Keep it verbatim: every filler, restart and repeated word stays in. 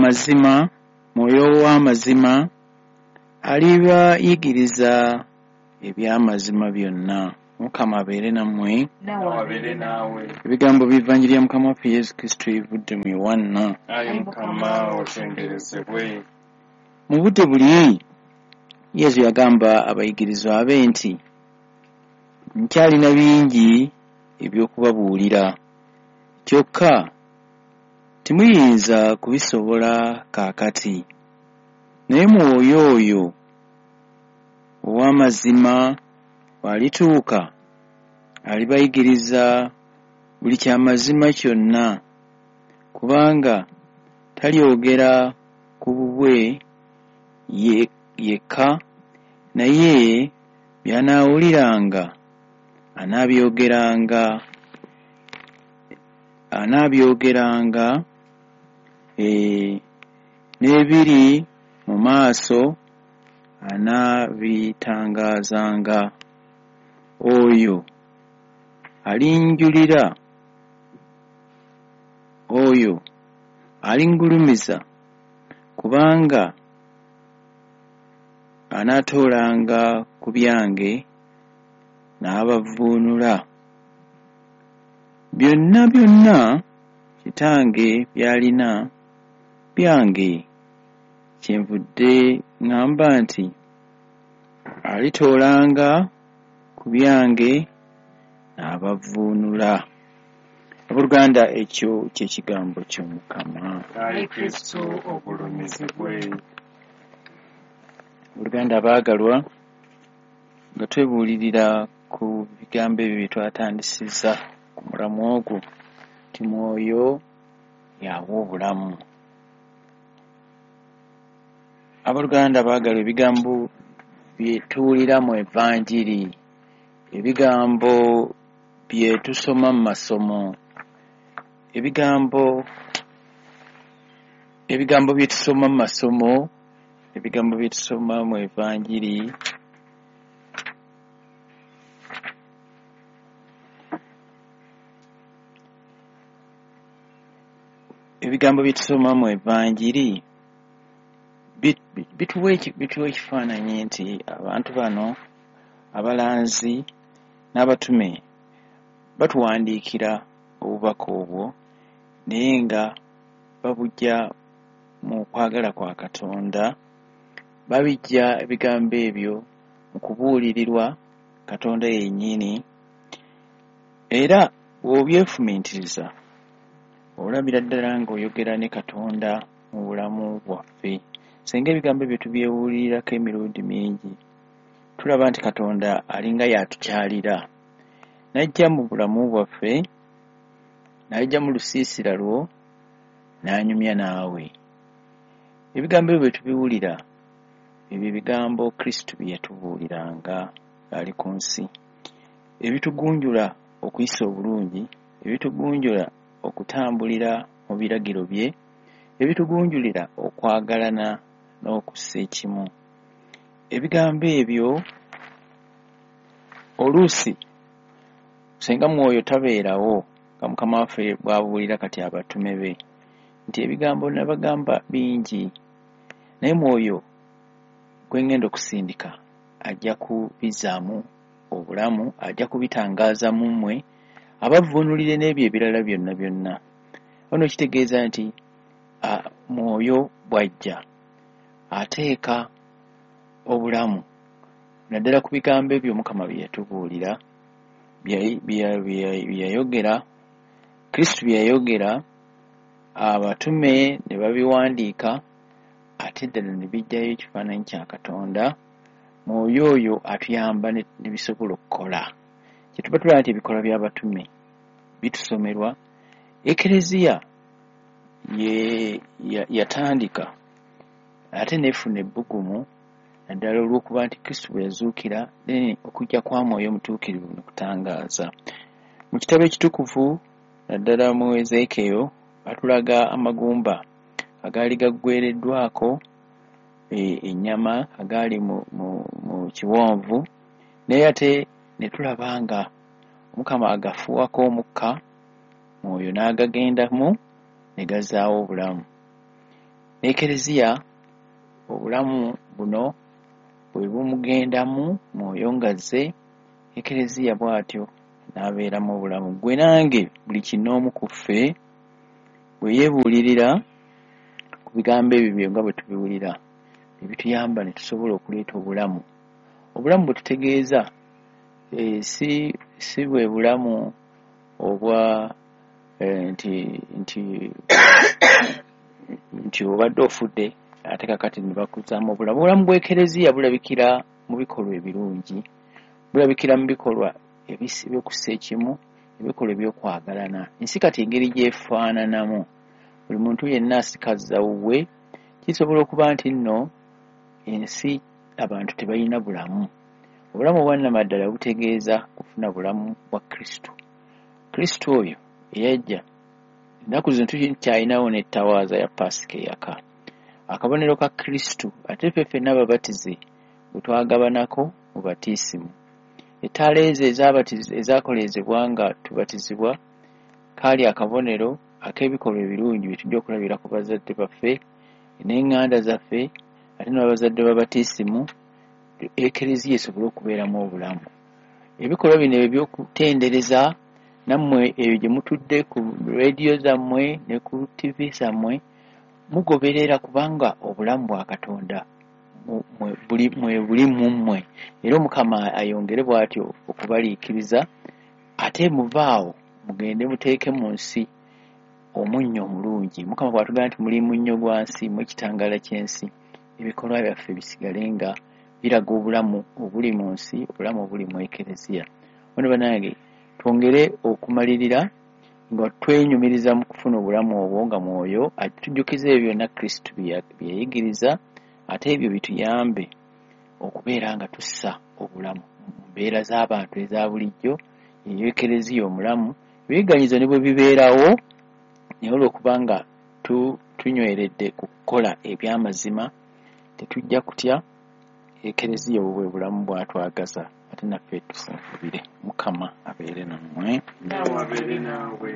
Amazima, Mwoyo w'amazima alibayigiriza eby'amazima byonna. Mukama abeere nammwe. Nawe abeere naawe. Ebigambo by'Evanjiri ya Mukama waffe Yesu Kristo ebivudde mu Yowanna. Ayi Mukama otenderezebwe. Mu budde buli Yesu yagamba abayigirizwa be nti, nkyalina bingi eby'okubabuulira, kyokka temuyinza kubisobola kaakati. Naye Mwoyo oyo ow'amazima bw'alituuka, alibayigiriza buli kyamazima kyonna, kubanga talyogera ku bubwe yekka, naye by'anaawuliranga anaabyogera anaabyogera eh, n'ebiri mu maaso anaabitangaazanga. Oyo alinjulira, oyo alingulumiza, kubanga anaatoolanga ku byange n'abavvuunula. Byonna byonna Kitange by'alina byange, kyenvudde ŋŋamba nti alitoolanga ku byange n'abavvuunula. Abooluganda, ekyo kye kigambo ky'Omukama. Ayi Kristo ogulumizibwe. Abooluganda abaagalwa, nga twebuulirira ku bigambo ebyo bye twatandisizza ku mulamu ogwo nti Mwoyo y'awa obulamu. Abooluganda abaagalwa, ebigambo bye tuwulira mu Evanjiri, ebigambo bye tusoma mu masomo, ebigambo ebigambo bye tusoma mu masomo, ebigambo bye tusoma mu Evanjiri ebigambo bye tusoma mu Evanjiri bituwa ekifaananyi nti abantu bano abalanzi n'abatume batuwandiikira obubaka obwo, naye nga babujja mu kwagala kwa Katonda, babijja ebigambo ebyo mu kubuulirirwa Katonda yennyini. Era bw'obyefumiitiriza olabira ddala ng'oyogera ne Katonda mu bulamu bwaffe. Singa ebigambo ebyo tubyewulirirako emirundi mingi, tulaba nti Katonda alinga y'atukyalira, n'ajja mu bulamu bwaffe, n'ajja mu lusiisira lwo, n'anyumya naawe. Ebigambo ebyo bwe tubiwulira, ebyo ebigambo Kristo bye yatubuuliranga ng'ali ku nsi, ebitugunjula okuyisa obulungi, ebitugunjula okutambulira mu biragiro bye, ebitugunjulira okwagalana n'okussa ekimu. Ebigambo ebyo oluusi singa Mwoyo tabeerawo, nga Mukama waffe bw'abuulira kati abatume be nti ebigambo nabagamba bingi, naye Mwoyo gwe ŋŋenda okusindika ajja kubizzaamu obulamu, ajja kubitangaaza mu mmwe, abavvuunulire n'ebyo ebirala byonna byonna. Ono kitegeeza nti Mwoyo bw'ajja ateeka obulamu naddala ku bigambo ebyo Mukama bye yatubuulira, bye yayogera, Kristo bye yayogera, abatume ne babiwandiika, ate ddala ne bijjayo ekifaananyi kya Katonda. Mwoyo oyo atuyamba ne bisobola okukola. Kye tuba tulaba nti ebikolwa by'abatume bitusomerwa, Ekereziya yatandika ate n'efuna ebbugumu naddala olw'okuba nti Kristo bwe yazuukira, okujja kwa Mwoyo Omutuukirivu ne kutangaaza. Mu kitabo ekitukuvu naddala mu Ezeekiyo batulaga amagumba agaali gaggwereddwako ennyama agaali mu, mu, mu kiwonvu, naye ate ne tulaba nga Omukama agafuuwako omukka, Mwoyo n'agagendamu ne gazzaawo obulamu. N'Ekereziya obulamu buno bwe bumugendamu Mwoyo ng'azze, Ekereziya bw'atyo n'abeeramu obulamu. Ggwe nange buli kinnoomu ku ffe bwe yeebuulirira ku bigambo ebyo bye nga bwe tubiwulira, ne bituyamba ne tusobola okuleeta obulamu. Obulamu bwe tutegeeza eh, si si bwe bulamu obwa eh, nti nti nti obadde ofudde ate kakati ne bakuzzaamu obulamu. Obulamu bw'Ekereziya bulabikira mu bikolwa ebirungi, bulabikira mu bikolwa ebyokussa ekimu, ebikolwa eby'okwagalana. Ensi kati engeri gy'efaananamu, buli muntu yenna asikazza wuwe, kisobola okuba nti nno ensi abantu tebalina bulamu. Obulamu obwannamaddala butegeeza kufuna bulamu bwa Kristo. Kristo oyo eyajja, ennaku zino tukyalinawo n'ettawaaza ya Paasika eyaka. Akabonero ka Kristo, ate ffe ffenna ababatize bwe twagabanako mu batiisimu. Ettaala ezo ezaakoleezebwa nga tubatizibwa kaali akabonero ak'ebikolwa ebirungi bye tujja okulabira ku bazadde baffe n'eŋŋanda zaffe, ate n'abazadde ba batiisimu, Ekereziya esobole okubeeramu obulamu. Ebikolwa bino eby'okutendereza nammwe eyo gye mutudde ku leediyo zammwe ne ku ttivi zammwe, mugoberera kubanga obulamu bwa Katonda mwe buli mu mmwe. Era Omukama ayongere bw'atyo okubaliikiriza, ate muvaawo mugende muteeke mu nsi omunnyo omulungi. Mukama bw'atugamba nti muli munnyo gwa nsi, mwe kitangaala ky'ensi, ebikolwa byaffe bisigale nga biraga obulamu obuli mu nsi, obulamu obuli mu Ekereziya. Ono bannange twongere okumalirira nga twenyumiriza mu kufuna obulamu obwo nga Mwoyo atujjukiza ebyo byonna Kristo bye yayigiriza, ate ebyo bituyambe okubeera nga tussa obulamu mu mbeera z'abantu eza bulijjo, eyo Ekereziya omulamu. Ebiyigganyizo ne bwe bibeerawo, naye olw'okuba nga tunyweredde ku kukola eby'amazima, tetujja kutya. Ekereziya obwo bwe bulamu bw'atwagaza, ate naffe tufunfubire. Mukama abeere nammwe. Naawe abeere naawe.